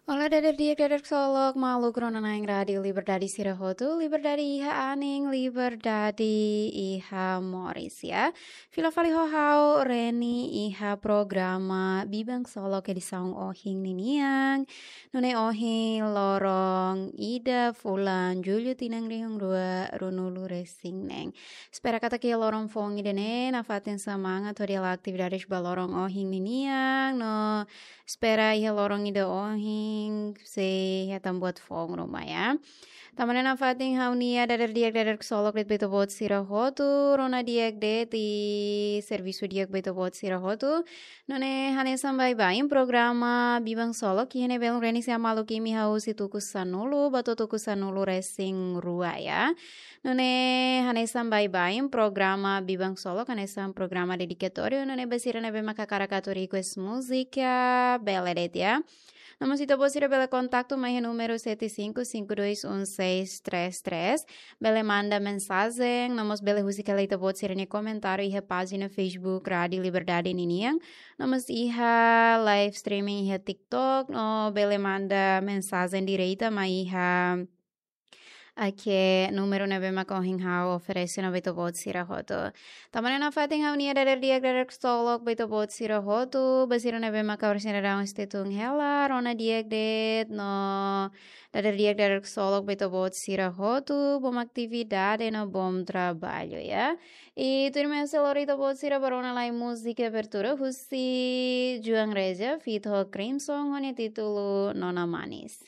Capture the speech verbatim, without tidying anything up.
Olá, dader di'ak, dader ksolok, maluk rona-na'in Rádiu Liberdade sira hotu, liberdade iha anin, liberdade iha moris, ya. Fila fali ho ha'u, Reni, iha programa Biban Ksolok edisaun ohin ninian. Nune'e ohin loron ida fulan Jullu tinan rihun rua ruanulu resin neen. Espera katak iha loron foun ida-ne'e nafatin semangat hodi hala'o atividades ba loron ohin ninian, no espera iha loron ida ohin sei hetan buat foun ruma, ya. Tanba ne'e nafatin ha'u-nia dader di'ak, dader ksolok de'it ba ita-boot sira hotu, rona di'ak de'it, servisu di'ak ba ita-boot sira hotu. Nune'e hanesan baibain programa Biban Ksolok, iha ne'e belun Reni sei hamaluk imi husi tuku sanulu ba to'o tuku sanulu resin rua, ya. Nune'e hanesan baibain programa Biban Ksolok, hanesan programa dedikatóriu, nune'e ba sira ne'ebé mak hakarak atu request múzika, bele de'it, ya. No mós ita-boot sira bele kontaktu mai iha númeru sete cinco cinco dois um seis três três. Bele manda mensajen, no mós bele husik hela ita-boot sira-nia komentáriu iha pájina Facebook Rádiu Liberdade ninian. No mós iha live streaming iha TikTok, no bele manda mensajen direta mai iha, oke, númeru ne'ebé mak ohin ha'u oferese ona ba ita-boot sira hotu. Tanba ne'e nafatin ha'u-nia dader di'ak, dader ksolok ba ita-boot sira hotu, ba sira ne'ebé mak orsida daudaun sei tun hela, rona di'ak de'it, no dader di'ak, dader ksolok ba ita-boot sira hotu, bom atividade no bom trabalho, ya. I tuirmai ha'u sei lori ita-boot sira ba rona lai múzika abertura husi João Reja, feat ho Crimson, ho nia títulu Nona Manis.